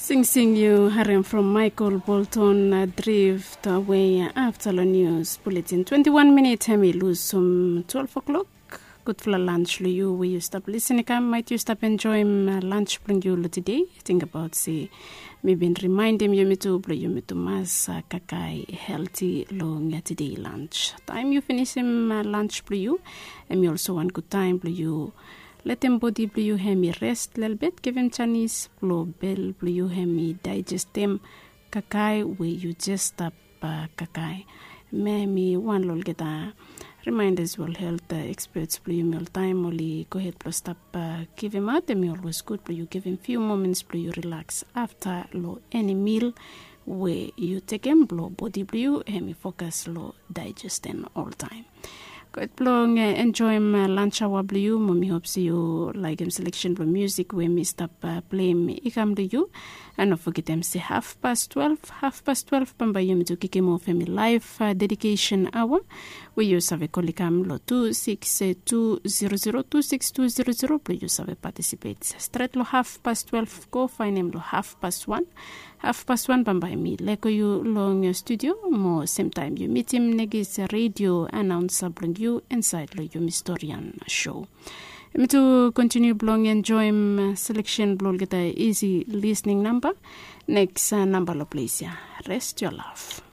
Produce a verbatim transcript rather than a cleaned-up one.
Singsing yu harem from Michael Bolton, Drift Away. Afta long nius buletin, twenti wan minit hem i lusum twelve o'clock. Gudfala lunch long yu we yu stap lisin i kam, maet yu stap enjoim lunch blong yu long tede. Tingbaot se mi bin rimaendim yumi tu blong yumi tu mas kakae helti long tede lunch. Taem yu finisim lunch blong yu, hem i olso wan gud taem blong yu letem bodi blong yu hem i rest lelebet, givim janis blong bel blong yu hem i daejestem kakae we yu jes stap kakae. Hem i wan long olgeta rimaendas we ol helt eksperts blong yumi oltaem oli gohed blong stap givimaot. Hem i olwes gud blong yu givim fiu moments blong yu rilaks afta long eni mil we yu tekem blong bodi blong yu hem i fokas long daejestem oltaem. Gud blong enjoim lunch aoa blong yu. Mo mi hop se yu laekem seleksen blong musik we mi stap pleim i kam long yu. An no fogetem se hafpas twelve, hafpas twelve bambae yumi tu kikim of hem i laef dedikesen aoa we yu save kol i kam long tu sikis tu zero zero tu sikis tu zero zero blong yu save patisipet stret long hafpas twelve go faenem long hafpas wan. Hafpas wan bambae mi lego yu long studio mo semtaem yu mitim negis redio anaonsa blong yu insaed long yumi storian sho. Yumi tu kontiniu blong enjoim seleksen blong olgeta isi lisning namba. Neks namba long ples ya, rest yo laf.